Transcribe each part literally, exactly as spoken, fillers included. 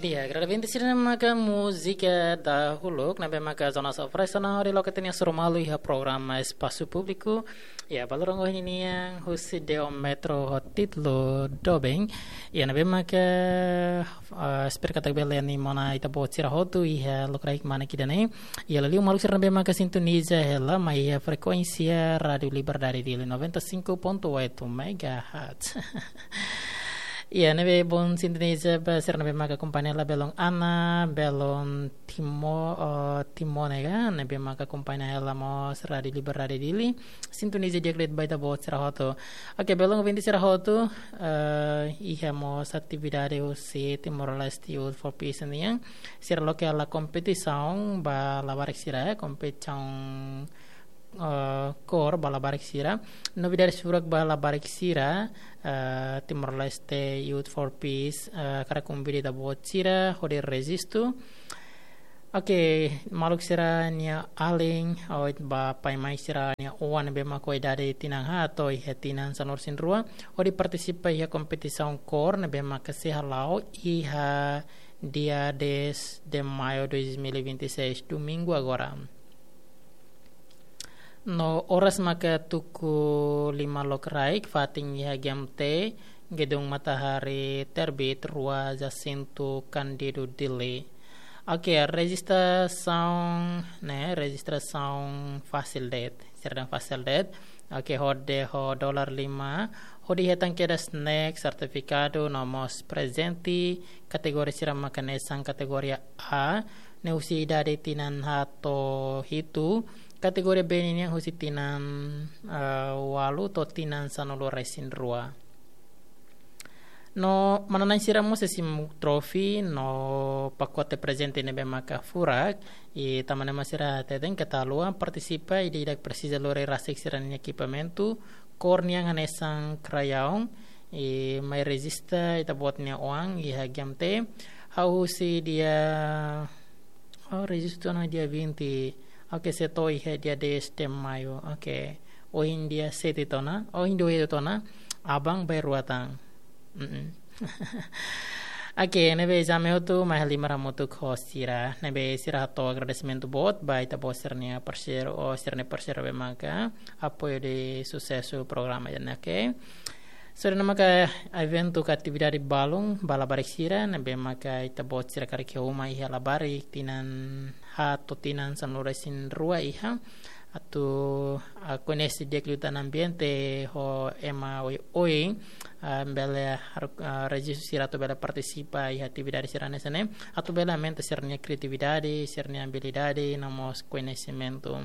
Ya, grada vinte sira maka múzika dahuluk, ne'ebé maka zona sofresa na hori loke tenia surumalu iha programa Espasu Públiku. Ya, balorong ohin nian husi Deo Metro ho títulu Doben. Ya, ne'ebé maka, eh, espera katak bele animaun ita-boot sira hotu iha lokraik manek ida-ne'e. Ya, liuliu maluk sira ne'ebé maka sintoniza hela mai iha frekuénsia Rádio Liberdade Dili noventa e cinco ponto oito megahertz. Ya, ne'ebé bom sintoniza ba sira ne'ebé maka akompaña hela belun Ana, belun Timo, eh, Timone ka, ne'ebé maka akompaña hela mós Rádio Liberdade Dili. Sintoniza di'ak de'it ba ita-boot sira hotu. Oke, belun ouvinte sira hotu, eh, iha mós atividade husi Timor-Leste Youth for Peace nian. Sira loke hela kompetisaun ba labarik sira, kompetisaun, eh, kór ba labarik sira. Novidade furak ba labarik sira, eh, Timor-Leste Youth for Peace, eh, hakarak konvida ita-boot sira hodi rejistu. Oke, maluk sira-nia alin, oit ba pai-mai sira-nia oan ne'ebé maka ho idade tinan haat to'o iha tinan sanulu-resin-rua, hodi partisipa iha kompetisaun kór ne'ebé maka sei hala'o iha dia dez de maio dois mil e vinte e seis, domingu agora. No oras maka tuku lima lokraik, fatin iha G M T, Gedung Matahari Terbit rua, Jacinto Cândido, Dili. Oke, rejistrasaun, ne'e, rejistrasaun fasil de'it, sira dehan fasil de'it. Oke, hodi ho dolar lima, hodi hetan kedas snack, sertifikadu, no mós prezente, kategoria sira maka hanesan kategoria A, ne'e husi idade tinan haat to'o hitu, kategoria B nian husi tinan, eh, ualu to'o tinan sanulu-resin-rua. No manán sira mós sei simu trofi no pakote prezente ne'ebé maka furak, i tanba ne'e mak sira hateten keta haluha partisipa, ida-idak presiza lori rasik sira-nia ekipamentu, kór nian hanesan krayaun, i mai rejista ita-boot nia oan iha G M T, hahú husi dia, oh, rejistu ona dia vinte, oke, sei to'o iha dia dez de maio, oke, ohin dia sete tiha ona, ohin dia oito tiha ona, aban bainrua tan. Mm-mm. Oke, ne'ebé ida-ne'e hotu mai halimar hamutuk ho sira, ne'ebé sira hato'o agradesimentu boot ba ita-boot sira-nia parseiru, ou sira-nia parseiru ne'ebé maka apoiu hodi susesu programa ida-ne'e, oke. Sira-ne'e maka eventu ka atividade balun ba labarik sira, ne'ebé maka ita-boot sira karik iha uma iha labarik tinan haat to'o tinan sanulu-resin-rua iha, atu, ah, koñese di'ak liután ambiente ho ema oioin, ah, bele har-, ah, rejistu sira atu bele partisipa iha atividade sira hanesan ne'e, atu bele aumenta sira-nia kriatividade, sira-nia abilidade, no mós koñesimentu.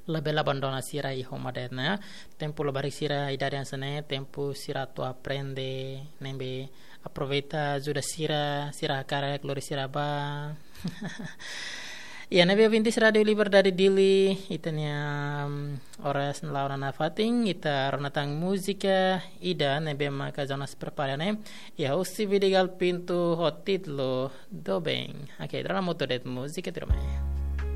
Labele abandona sira iha uma de'it, ne'e. Tempu labarik sira idade hanesan ne'e, tempu sira atu aprende, ne'ebé aproveita ajuda sira, sira hakarak lori sira ba. Ya, ne'ebé ouvintes Rádio Liberdade Dili, ita-nia, mm, oras la'o ona nafatin, ita rona tan múzika ida ne'ebé maka Jonas prepara ne'e. Ya, husi Vidigal Pinto ho títulu Doben. Oke, ita rona hamutuk de'it múzika tuirmai.